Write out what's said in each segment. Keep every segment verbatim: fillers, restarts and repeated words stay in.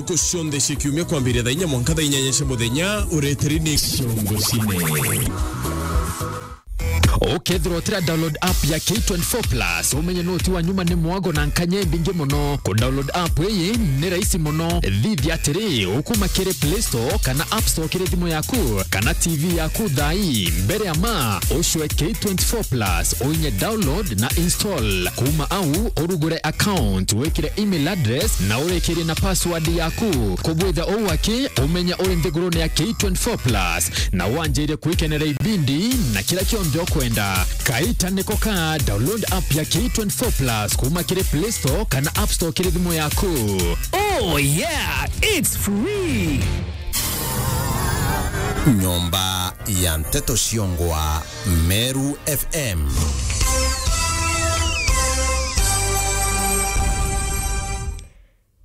Ntuku cionthe cia kiumia kwambiria thaa inya mwanka thaa inyanya cia muthenya, ureteri ni Ciongo Cine. Ukethirwa utira download app ya K twenty-four plus, umenye no ti wa nyuma ni mwago na nkanya imbingi muno. Ku download app iyi ni rahisi muno. Thithia atiri, ukuma kiri Play Store kana App Store kiri thimu yaku kana T V yaku thaa ii. Mbere ya ma, ucwe K twenty-four plus, uinye download na install. Kuma au, urugure account, wikire email address na urikirie na password yaku. Kubwitha uu aki, umenye uri nthigurune ya K twenty-four plus na wanjire kwikenera ibindi na kira kionthe ukwenda. Kaita niko ka, download app ya K twenty-four plus kuma kiri Play Store kana App Store kiri thimu yaku. Oh yeah, it's free. Nyomba ya Nteto Ciongwa, Meru F M.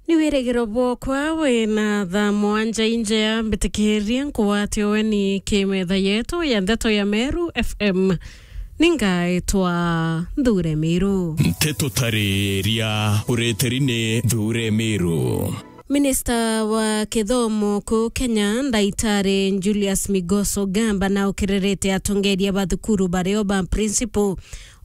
Ni wirigiro bwokwa wina thaa mwanja injea, mbitikirie nkugwatie weni ki metha yetu ya Nteto ya Meru F M. Ningaitwa Nthure Miru. Nteto tariria ureteri ni Nthure Miru. Minista wa kithomo kuu Kenya, Ndaitari Julius Migos Ogamba, naukiririte atongeria ba thukuru bario ba principal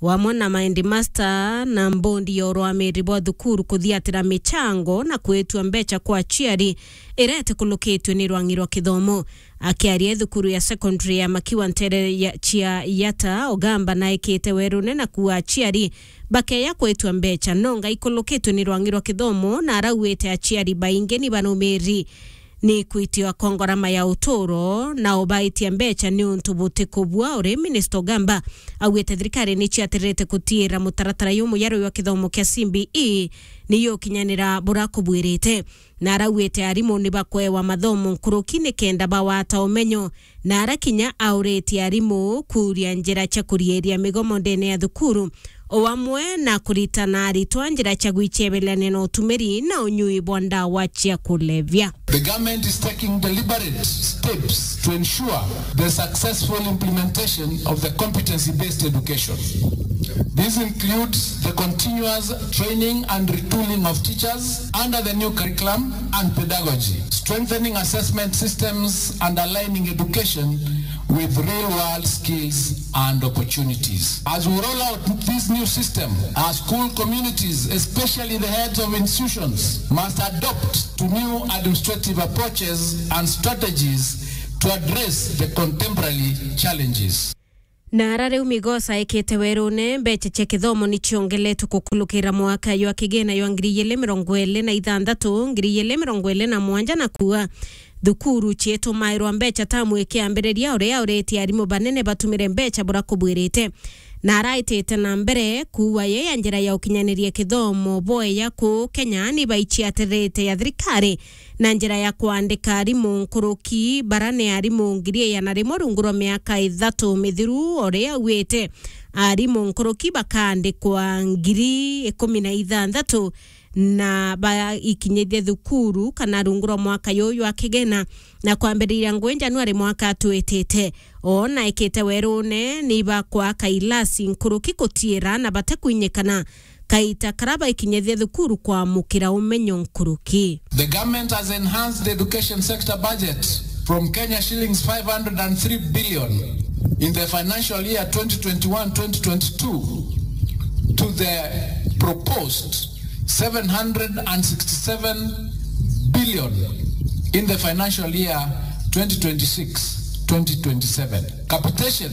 wamwe na maheadmaster na mbondi ya urwamiri bwa thukuru kuthiatira michango na kwitua mbeca kwa aciari iria itikulukitue ni rwang'i rwa kithomo. Akiaria thukuru ya secondary ya Makiwa ntere ya, cia Yata, Ogamba naikite werune na kuuga aciari bakeya kwitua mbeca nonga ikulukitue ni rwang'i rwa kithomo, na arauite aciari baingi ni banumiri ni kwitiwa kwa ngarama ya uturo, na ubaitia mbeca ni untu butikubua. Uri Minister Ogamba augite thirikari ni ciatirite kutiira mutaratara jumuyaru jwa kithomo kia C B E ni yukinyanira buria kubwirite, na arauite arimu ni bakwewa mathomo nkuruki nikenda bawata umenyo, na ara kinya auritie arimu kuuria njira cia kurieria migomo ndene ya thukuru, o amwe na kuritana aritwa njira cia gwicebelania na utumiri na unyui bwa ndawa cia kulevya. The government is taking deliberate steps to ensure the successful implementation of the competency-based education. This includes the continuous training and retooling of teachers under the new curriculum and pedagogy, strengthening assessment systems and aligning education with real-world skills and opportunities. As we roll out this new system, our school communities, especially the heads of institutions, must adopt to new administrative approaches and strategies to address the contemporary challenges. Na ara riu Migos aikite werune, mbeca cia kithomo ni ciongeletwe kukulukira mwaka jwa kigina jwa ngiri igiri mirongo iri na ithanthatu, ngiri igiri mirongo iri na mwanja, na kuuga thukuru ciitumairwa mbeca tamu ikiambiriria, uria auritie arimu banene batumire mbeca buria kubwirite. Na araitite na mbere kuuga ye ya njira ya ukinyaniria kithomo bweya kuu Kenya ni baiciatirite ya thirikari na njira ya kwandika arimu nkuruki, bara ni arimu ngiri igana rimwe rungu rwa miaka ithatu mithiru, uria auite arimu nkuruki bakaandikwa ngiri ikumi na ithanthatu na baikinyithie thukuru kana rungu rwa mwaka juju jwa kigina, na kwambiriria ngui Januari mwaka twitite. O na ikite werune ni bakwaka ilasi nkuruki kutiira na batekwinyikana kaita karia baikinyithia thukuru kwamukira umenyo nkuruki. The government has enhanced the education sector budget from Kenya shillings five hundred and three billion in the financial year twenty twenty-one twenty twenty-two to the proposed seven hundred and sixty-seven billion in the financial year twenty twenty-six twenty twenty-seven. Capitation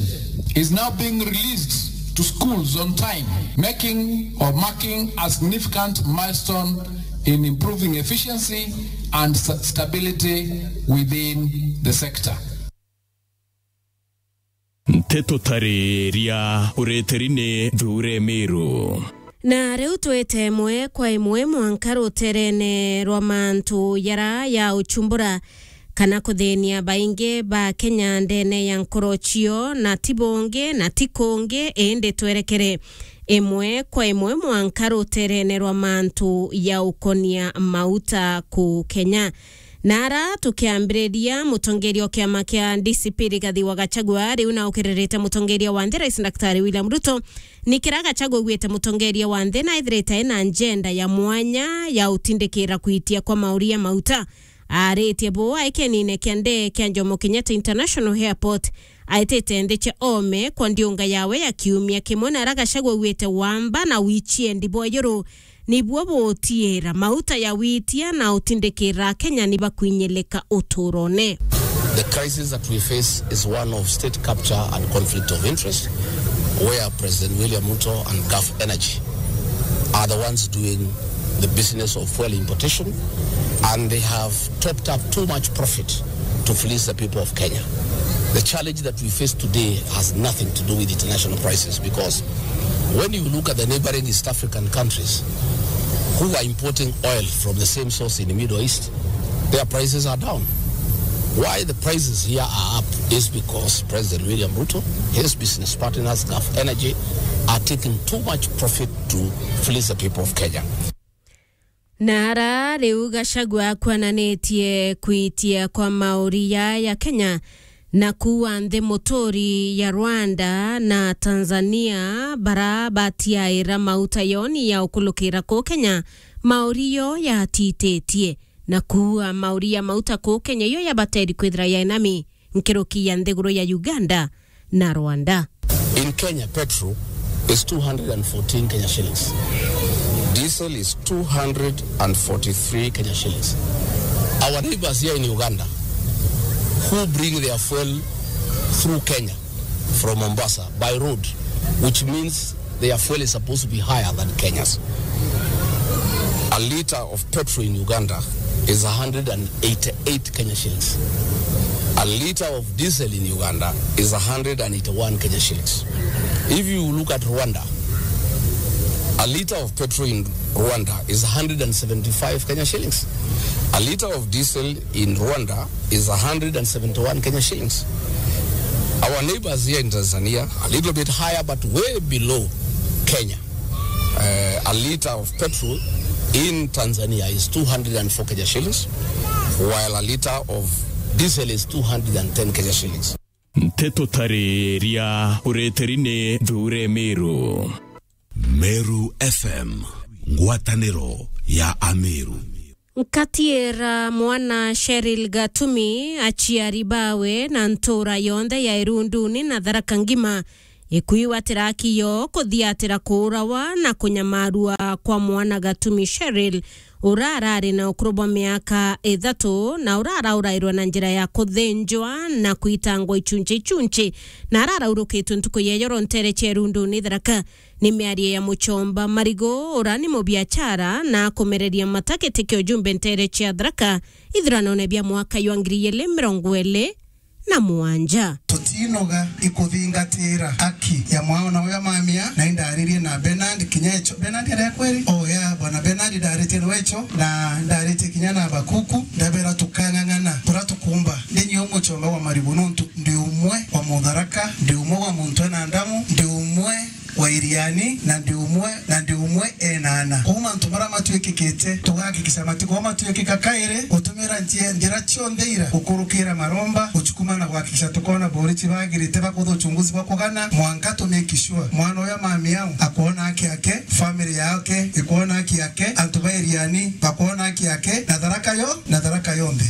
is now being released to schools on time, making or marking a significant milestone in improving efficiency and sta-, stability within the sector. Nteto tariria ureteri ni Nthure Miru. Na riu twite imwe kwa imwe mwanka ruterene rwa mantu jara ya uchumbura kana kuthinia baingi ba Kenya ndene ya nkoro cio, na ti bungi na ti kungi, indi twerekere imwe kwa imwe mwanka ruterene rwa mantu ya ukonia mauta ku Kenya. Na ara tukiambiriria, mutongeria o kiama kia D C P Rigathi wa Gachagua riu na ukiririte mutongeria wa nthi Rais Daktari William Ruto, ni kira Gachagua augite mutongeria wa nthi na ethirite ena njenda ya mwanya ya utindikira kwitia kwa mauria mauta. Aritie buu aikenine kia ndege kia Jomo Kenyatta International Airport, aitite nthi cia ome kwa ndiunga yawe ya kiumia kimwe, na ara Gachagua augite wamba na wichiendi bwa ijuru nibuo butiira mauta ya witia na utindikira Akenya ni bakwinyilika uturone. The crisis that we face is one of state capture and conflict of interest, where President William Ruto and Gulf Energy are the ones doing the business of fuel importation, and they have topped up too much profit to fleece the people of Kenya. The challenge that we face today has nothing to do with international prices, because when you look at the neighboring East African countries who are importing oil from the same source in the Middle East, their prices are down. Why the prices here are up is because President William Ruto, his business partners, Gulf Energy, are taking too much profit to fleece the people of Kenya. Na ara riu Gachagua akwananitie kwitia kwa mauria ya Kenya, na kuua nthi muturi ya Rwanda na Tanzania bara batiaira mauta yoni ya ukulukira ku Kenya, mauria yo yatititie, na kuua mauria mauta ku Kenya iyo yabateri kwithira yainami nkiruki ya nthiguru ya Uganda na Rwanda. In Kenya, petrol is two hundred and fourteen Kenya shillings. Diesel is two hundred and forty-three Kenya shillings. Our neighbors here in Uganda, who bring their fuel through Kenya from Mombasa by road, which means their fuel is supposed to be higher than Kenya's. A liter of petrol in Uganda is one hundred and eighty-eight Kenya shillings. A liter of diesel in Uganda is one hundred and eighty-one Kenya shillings. If you look at Rwanda, a liter of petrol in Rwanda is one hundred and seventy-five Kenya shillings. A liter of diesel in Rwanda is one hundred and seventy-one Kenya shillings. Our neighbors here in Tanzania, a little bit higher, but way below Kenya. Uh, a liter of petrol in Tanzania is two hundred and four Kenya shillings, while a liter of diesel is two hundred and ten Kenya shillings. Nteto tariria ureteri ni Thure Meru. Meru F M, ngwataniro ya Ameru. Nkatiira mwana Cheryl Gatumi, aciari bawe na ntuura yonthe ya Irunduni na Tharaka ngima, ikwigwatira aki yo kuthiatira kuurawa na kunyamarua kwa mwana Gatumi Cheryl, ura arari na ukuru bwa miaka ithatu, na ura araurairwa na njira ya kuthinjwa na kwitangwa ichunchi ichunchi, na araraurukitwe ntuku ya ijoro nteere cia Irunduni Tharaka. Ni miario ya Muchomba Marigo, ura ni mubiachara na akumereria mata giti kia ujumbe nteere cia Tharaka ithuranone bia mwaka jwa ngiri igiri mirongo iri na mugwanja. Tutinoga ikuthingatira aki ya mwana uria mamia, na indaririe na Bernard kinya echo. Bernard aria kweri? Oh, yeah, bwana Bernard ndaritie na wecho, na ndaritie kinya na Habakuku, ndabera tukang'ang'ana, bura tukumba. Ndi nyo Muchomba wa Marigo nontu ndi umwe wa Mutharaka, ndi umwe wa muntu ena ndamu, ndi umwe wa Iriani, na ndi umwe, na ndi umwe ena ana. Kwou mantu maria matuikikite, tugahakikisha matikorwa matuikika kairi, gutumira njia, njira cionthe ira, gukurukira maromba, guchukuma na kuhakikisha tukona borichi bagirite bakutha uchunguzi bwa kugana, mwanka tu make sure mwana uyu mami au akwona haki yake, family yake ikwona haki yake, antu ba Iriani bakwona haki yake, na Tharaka yo, na Tharaka yonthe.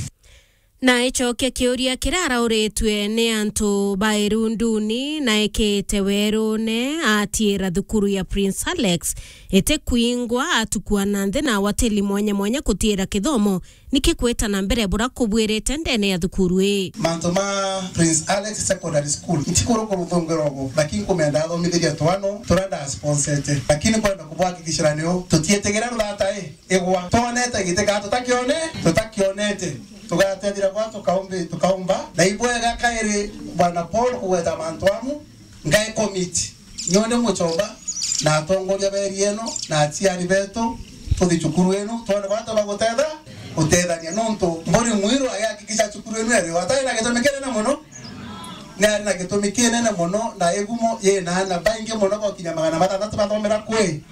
Na icokia kiuria kiria arauritue ni antu ba Irunduni na ekite werune, atiira thukuru ya Prince Alex itikwingwa, atukua na nthi na awateli mwanya mwanya kutiira kithomo, niki kwita na mbere bura kubwirite ndene ya thukuru ii? Mantu ma Prince Alex Secondary School, ntikurukuru thungiro ugu, lakini nkumenda athomithirie twano turia ndasponsete, lakini nkwenda kubwakikishira niu tutiitigira ruthata ii igwa. Twonete giti kana tutakione, tutakionete. Tugatethira kwa tukaumbi-, tukaumba. Na ibwega kairi Bwana Paul kugweta mantu amu, ngai commit. Nyone Muchomba na atongoria ba area ino na aciari betu, tuthi cukuru inu, twone bata ba gutethania. Nontu Mburi Mwiru agihakikisha cukuru inu iri, atari na gitumi kinene muno. Ni ari na gitumi kinene muno na igumo yina ana baingi muno, bakinya magana matanthatu bathomera kwi,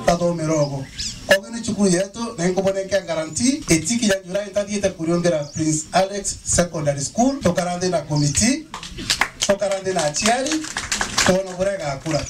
bathomera ugu. Koguo ni cukuru yetu, na inkubonenkia guarantee, itikinya July ntathiite ku Riungira Prince Alex Secondary School, tukara nthi na committee, tukara nthi na aciari, twona buria igakura.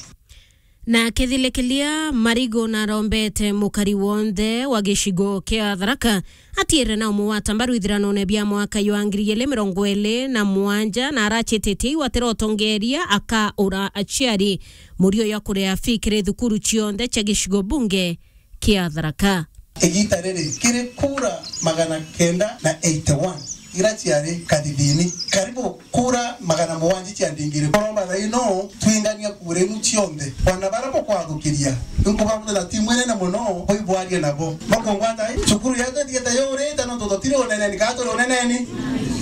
Na akithilikiria Marigu narombete mukari wonthe wa gicigo kia Tharaka atiire na umugwata mbaru ithiranone bia mwaka jwa ngiri igiri mirongo iri na mugwanja, na aracititie iu atira utongeria akaura aciari murio ya kuria fee kiri thukuru cionthe cia gicigo bunge kia Tharaka. Igita riri, kiri kura magana kenda na eighty one iria ciari kathithini, karibu kura magana mugwanja cia ndingiri. Kuromba thaa ino twingania kura inu cionthe. Bana bara bukwathukiria, nkubabuthira timu inene mono, bui bwarie nabo. Bakungwata, eh, cukuru yetu ithiete yurite, nontu tutiri uneneni, kana turi uneneni?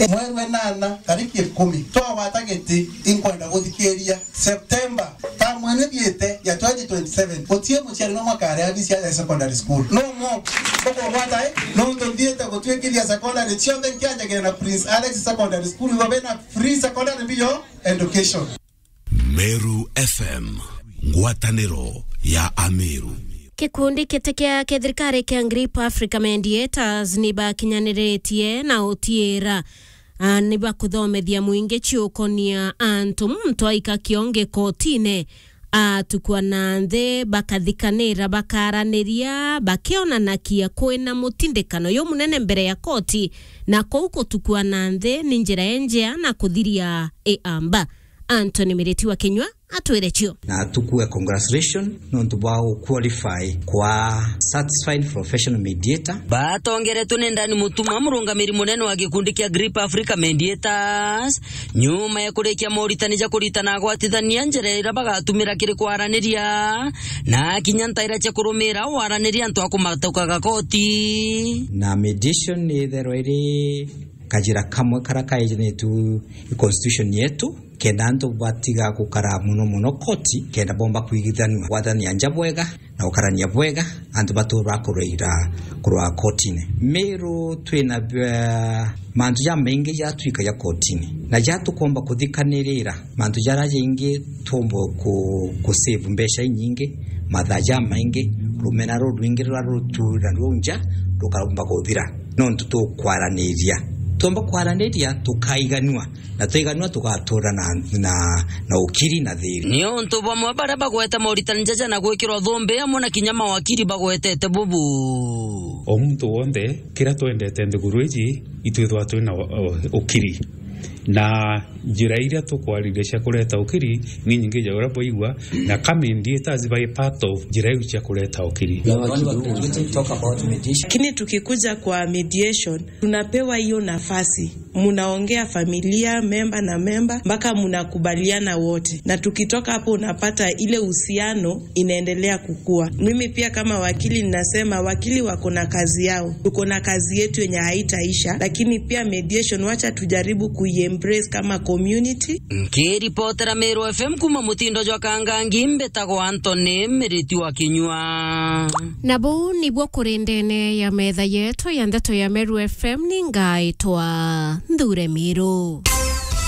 Eh, mweri wa inana, tariki ikumi, twagwata giti, inkwenda guthikiria. September, tamu ino ithiite ya twenty twenty-seven, gutie muciari no mwaka aria abisi aja secondary school. No mo, ukugwata, eh? Nontu nthiite gutwikithia secondary cionthe nkianjagira na Prince Alex Secondary School, ibo bena free secondary bio education. Meru F M, ngwataniro ya Ameru. Gikundi kiti kia kithirikari kia Grip Africa Mediators ni bakinyaniritie na utiira a, ni bakuthomethia mwingi ciukonia antu muntu aika kiongi kotine, atukua na nthi, bakathikanira, bakaraniria, bakionanakia kwina mutindikano jumunene mbere ya koti, na kuu gutukua na nthi ni njira injea na kuthiria iamba. Anthony Miriti wa Kinyua atwire cio. Na tukue congratulation nontu bwa gu qualify kwa certified professional mediator. Batongeretwe ni Ndani Mutuma, murungamiri munene wa gikundi kia Grip Africa Mediators, nyuma ya kurikia moritani ja kuritana agwatithania njira iria bagatumira kiri kwaraniria na kinya ntaira cia kurumira waraniria antu a kumatukaga koti. Na mediation ni itherwa iri kajira kamwe karia kaijinitue i constitution yetu, kenda antu batiga gukara mono mono koti, kenda bomba kwigithanua, gwathania nja bwega na gukarania bwega, antu batura bakuraira kurwa kotine. Meru twina, eh, mantu jamaingi jatwikagia kotine, na jatukomba kuthikanirira mantu jaria jaingi twomba ku, ku save mbeca inyingi, mathaa jamaingi, rumena rurwingi ruria rutura ruu nja rukaromba kuthira, nontu tukwaraniria. Twomba kwaraniria, tukaiganua, na twaiganua tugatura na, na, na ukiri na thiri. Ni untu bamwe baria bagwete moritani jaja na gwikirwa thumbi amwe na kinya mawakiri bagwetete bubu. O muntu wonthe, kiria twendete nthiguru iji, itwithwa twina u-, u-, ukiri. Na njira iria tukwariria cia kureta ukiri ni nyingi ja uria bwaigua, na ka mediators bai part of njira iu cia kureta ukiri. Lakini tukikuja kwa mediation, tunapewa hiyo nafasi. Mnaongea familia, memba na memba, mpaka mnakubaliana wote. Na tukitoka hapo, unapata ile uhusiano inaendelea kukua. Mimi pia kama wakili ninasema wakili wako na kazi yao. Tuko na kazi yetu yenye haitaisha, lakini pia mediation, wacha tujaribu kuiembrace kama community. Nkiripotera Meru F M kuma mutindo jwa Kangangi, mbitagwa Anthony Miriti wa Kinyua. Na buu nibwo kuri ndene ya metha yetu ya ndeto ya Meru F M, ni ngaitwa Nthure Miru.